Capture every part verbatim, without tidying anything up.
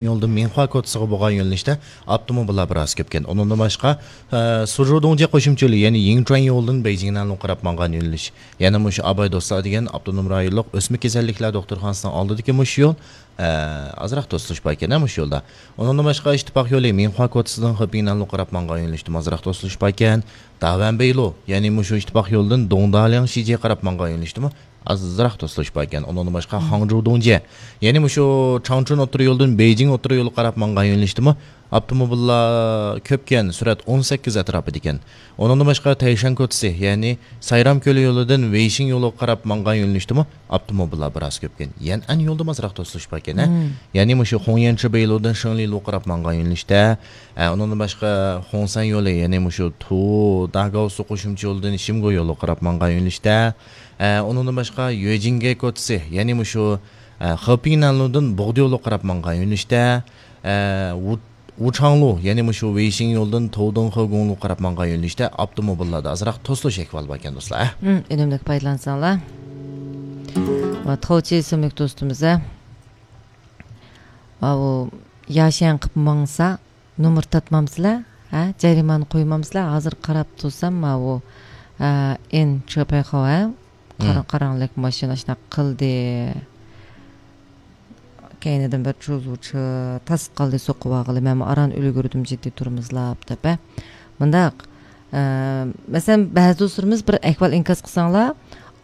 يولدىن مىنخۇا كوچىسىغا بولغان يۆنىلىشتە ئاپتوموبىللار بىراز كۆپكەن. ئۇنىڭدىن باشقا، ئە، سۇجۇدۇڭجيې قوشۇمچە يولى، يەنى يىڭچۈەن يولىدىن بېيجىڭ نەنلۇغا قاراپ ماڭغان يۆنىلىش، يەنە مۇشۇ ئاباي دوستلار دېگەن ئاپتونوم رايونلۇق ئۆسمە كېسەللىكلەر دوختۇرخانىسىنىڭ ئالدىدىكى مۇشۇ يول، ئە، ئازراق توسۇلۇش بار ئىكەن، ھە، مۇشۇ يولدا. ئۇنىڭدىن باشقا، ئىتتىپاق يولى مىنخۇا كوچىسىدىن خېپىڭ نەنلۇغا قاراپ ماڭغان يۆنىلىشتىمۇ ئازراق توسۇلۇش بار ئىكەن. داۋەنبېيلۇ، يەنى مۇشۇ ئىتتىپاق يولىدىن دۇڭدالياڭ شىجيې قاراپ ماڭغان يۆنىلىشتىمۇ ئازراق توسۇلۇش بار ئىكەن. ئۇنىڭدىن باشقا، خاڭجۇ دۇڭجيې، يەنى مۇشۇ چاڭچۈن ئوتتۇرا يولىدىن بېيجىڭ ئوتتۇرا يولىغا قاراپ ماڭغان يۆنىلىشتىمۇ ئاپتوموبىللار كۆپكەن، سۈرئەت ئون سەككىز ئەتراپىدا ئىكەن. ئۇنىڭدىن باشقا، تەيشەن كوچىسى، يەنى سايرام كۆلى يولىدىن ۋېيشىڭ يولىغا قاراپ ماڭغان يۆنىلىشتىمۇ ئاپتوموبىللار بىراز كۆپكەن. يەنئەن يولىدىمۇ ئازراق توسۇلۇش بار ئىكەن، ھە؟ مم. يەنى مۇشۇ خۇڭيەنچى بېيلۇدىن شېڭلىلۇغا قاراپ ماڭغان يۆنىلىشتە، ئە، ئۇنىڭدىن باشقا، خۇڭسەن يولى، يەنى مۇشۇ تۇ داگاۋسۇ قوشۇمچە يولىدىن شىمگو يولىغا قاراپ ماڭغان يۆنىلىشتە، ئە، ئۇنىڭدىن باشقا، يۆجىڭگې كوچىسى، يەنى مۇشۇ، ئە، خېپىڭ نەنلۇدىن بوغدى يولىغا قاراپ ماڭغان يۆنىلىشتە، ئە، ۋۇ-، ۋۇچاڭلۇ، يەنى مۇشۇ ۋېيشىڭ يولىدىن تۇدۇڭخې گۇڭلۇغا قاراپ ماڭغان يۆنىلىشتە ئاپتوموبىللاردا ئازراق توسۇلۇش ئەھۋالى بار ئىكەن، دوستلار، ھە؟ ھىم، ئۈنۈملۈك پايدىلانساڭلار. ۋە تاۋچى ئىسىملىك دوستىمىز، ھە؟ ۋە ئۇ ياشيەن قىپ ماڭسا، نومۇر تارتمامسىلەر؟ ھە؟ جەرىمانە قويمامسىلەر؟ ھازىر قاراپ تۇرسام، ماۋۇ، ئە، ئېن چېپەيخاۋ، ھە؟ قارا-، مم. قاراڭلىق ماشىنا شۇنداق قىلدى. كەينىدىن بىر چوزغۇچى تاس قالدى، سوقۇۋالغىلى، مەنمۇ ئاران ئۈلگۈردۈم، جىددىي تۇرىمىزلاپ دەپ، ھە؟ مۇنداق، ئە، مەسىلەن، بەزى دوستلىرىمىز بىر ئەھۋال ئىنكاس قىلساڭلار،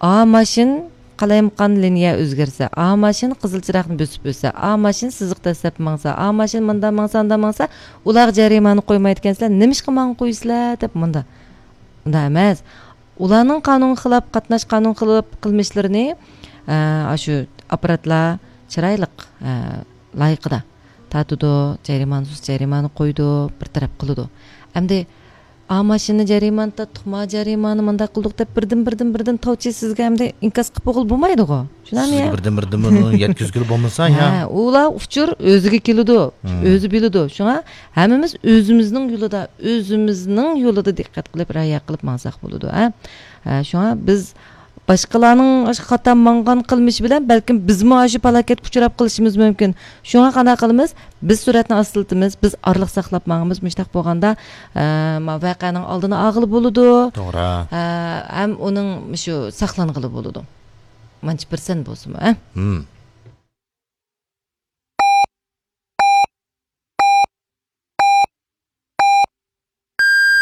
ئا ماشىنا قالايمىقان لىنىيە ئۆزگەرسە، ئا ماشىنا قىزىل چىراغنى بۆسۈپ ئۆتسە، ئا ماشىنا سىزىق دەسسەپ ماڭسا، ئا ماشىنا مۇنداق ماڭسا، ئانداق ماڭسا، ئۇلارغا جەرىمانە قويمايدىكەنسىلەر، نېمىشقا ماڭا قويىسىلەر دەپ مۇنداق. ئۇنداق ئەمەس. ئۇلارنىڭ قانۇنغا خىلاپ قاتناش، قانۇن خىلاپ قىلمىشلىرىنى، ئە، ئاشۇ ئاپپاراتلار چىرايلىق، ئە، لايىقىدا تارتىدۇ، جەرىمانىسىز جەرىمانە قويىدۇ، بىر تەرەپ قىلىدۇ. ئەمدى ئا ماشىنا جەرىمانە تارتتۇق، ما جەرىمانە مۇنداق قىلدۇق دەپ بىردىن، بىردىن، بىردىن تاۋچى سىزگە ئەمدى ئىنكاس قىلىپ بولغىلى بولمايدىغۇ. شۇنداقمۇ سىزگە يا؟ بىردىن، بىردىن بۇنى يەتكۈزگىلى بولمىسا، يا؟ ھە، ئۇلار ئۇچۇر ئۆزىگە كېلىدۇ، مم. ئۆزى بىلىدۇ. شۇڭا ھەممىمىز ئۆزىمىزنىڭ يولىدا، ئۆزىمىزنىڭ يولىدا دىققەت قىلىپ، رىئايە قىلىپ ماڭساق بولىدۇ، ھە؟ ھە، شۇڭا بىز باشقىلارنىڭ ئاشۇ خاتا ماڭغان قىلمىشى بىلەن بەلكىم بىزمۇ ئاشۇ پالاكەتكە ئۇچراپ قېلىشىمىز مۇمكىن. شۇڭا قانداق قىلىمىز؟ بىز سۈرئەتنى ئاستىلىتىمىز، بىز ئارىلىق ساقلاپ ماڭىمىز. مۇشۇنداق بولغاندا، ئە، ما ۋەقەنىڭ ئالدىنى ئالغىلى بولىدۇ. توغرا. ئە، ھەم ئۇنىڭ شۇ ساقلانغىلى بولىدۇ. مانچە پىرسەنت بولسىمۇ، ھە؟ ھىم.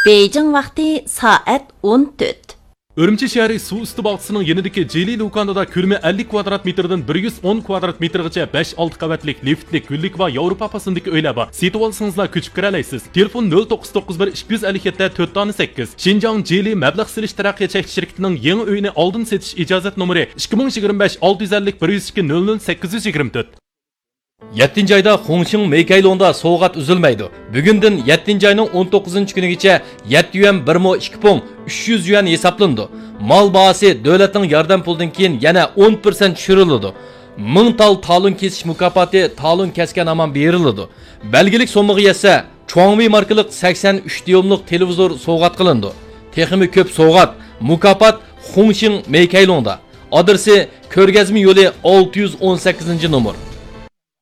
بېيجىڭ ۋاقتى سائەت ئون تۆت. ئۈرۈمچى شەھىرى سۇ ئۈستى باغچىسىنىڭ يېنىدىكى جىلى لۇكاندىدا كۆلىمى ئەللىك كۋادرات مېتىردىن بىر يۈز ئون كۋادرات مېتىرغىچە بەش ئالتە قەۋەتلىك لىفتلىك گۈللۈك ۋە ياۋروپا پاسوندىكى ئۆيلەر بار. سېتىۋالسىڭىزلا كۆچۈپ كىرەلەيسىز. تېلېفون: نۆل توققۇز توققۇز بىر ئىككى يۈز ئەللىك يەتتە تۆت دانە سەككىز. شىنجاڭ جىلى مەبلەغ سېلىش تەرەققىيات چەكلىك شىركىتىنىڭ يېڭى ئۆيىنى ئالدىن سېتىش ئىجازەت نومۇرى: ئىككى مىڭ يىگىرمە بەش ئالتە يۈز ئەللىك بىر يۈز ئىككى نۆل نۆل سەككىز يۈز يىگىرمە تۆت. يەتتىنچى ئايدا خۇڭشىڭ مېيكەيلۇڭدا سوۋغات ئۈزۈلمەيدۇ. بۈگۈندىن يەتتىنچى ئاينىڭ ئون توققۇزىنچى كۈنىگىچە يەتتە يۈەن بىر مو ئىككى پۇڭ، ئۈچ يۈز يۈەن ھېسابلىنىدۇ. مال باھاسى دۆلەتنىڭ ياردەم پۇلىدىن كېيىن يەنە ئون پىرسەنت چۈشۈرۈلىدۇ. مىڭ تال تالون كېسىش مۇكاپاتى تالون كەسكەن ھامان بېرىلىدۇ. بەلگىلىك سوممىغا يەتسە، چۇاڭۋېي ماركىلىق سەكسەن ئۈچ دىيۇملۇق تېلېۋىزور سوۋغات قىلىنىدۇ. تېخىمۇ كۆپ سوۋغات، مۇكاپات خۇڭشىڭ مېيكەيلۇڭدا. ئادرېسى: كۆرگەزمە يولى، ئالتە يۈز ئون سەككىزىنچى نومۇر.